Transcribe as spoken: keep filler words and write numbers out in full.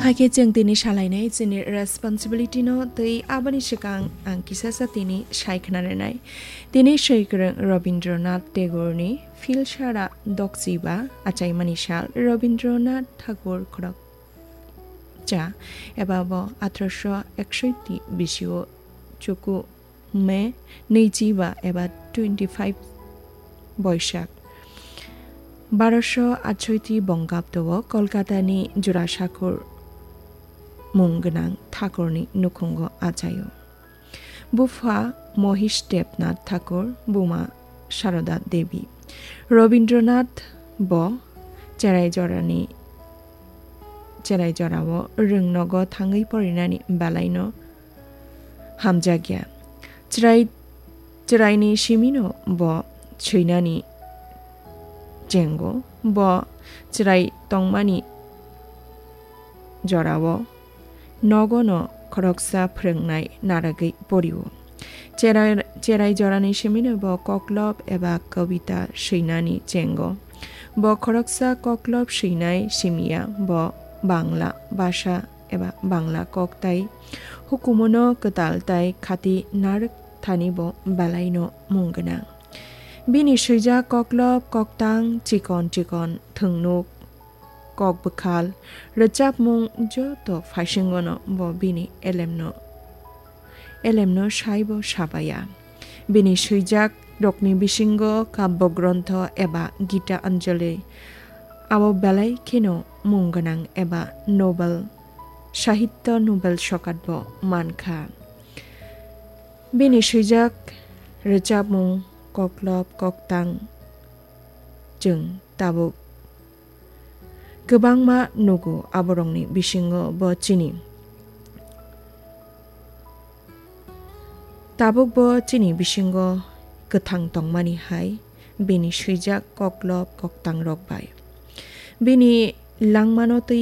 Hakhe chwng tini salainai chini responsibility no tei aboni swkang ang kisa sa tini sai khna rwnai. Tini swi kwrwng Rabindranath Tagore ni Philsara Dokchiba achaimani sal Rabindranath Tagore khorok cha eba bo athroso eksoiti bisio chuku May nwichiba eba twenty five Boisak. Baroso atsoiti bongkabdo o Kolkata ni Jurasakhur mung gwnang Thakur ni nukhungo achaio. Bupha Mohish Debnath Thakur, buma Saroda Devi. Rabindranath bo cherai jorani, cherai jorao rwngnogo thangwi porinani belaino hamjakya. Chwrai, chwraini simino bo swinani chengo, bo chwrai tongmani jorao nogono khoroksa phwrwngnai narwgwi porio. Cherai, cherai jorani simino bo koklop eba kobita swinani chengo. Bo khoroksa koklop swinai simiya, bo Bangla bhasha eba Bangla kok tai hukumono kwtal tai khati narwk thani bo belaino mung gwnang. Bini swijak koklop koktang chikon chikon thwngnuk, kok bwkhal, rwchapmung joto phaisingono bo bini elemno, elemno saibo sapaya. Bini swijak rokni bisingo kabbo grontho eba Gita Anjali abo belai kheno mung gwnang eba Nobel, Sahitya Nobel sokat bo mankha. Bini swijak rwchapmung koklop koktang chwng tabuk kwbangma nugo, aborokni bisingo bo chini. Tabuk bo chini bisingo kwthang tongmani hai bini swijak koklop koktangrok bai. Bini langmano twi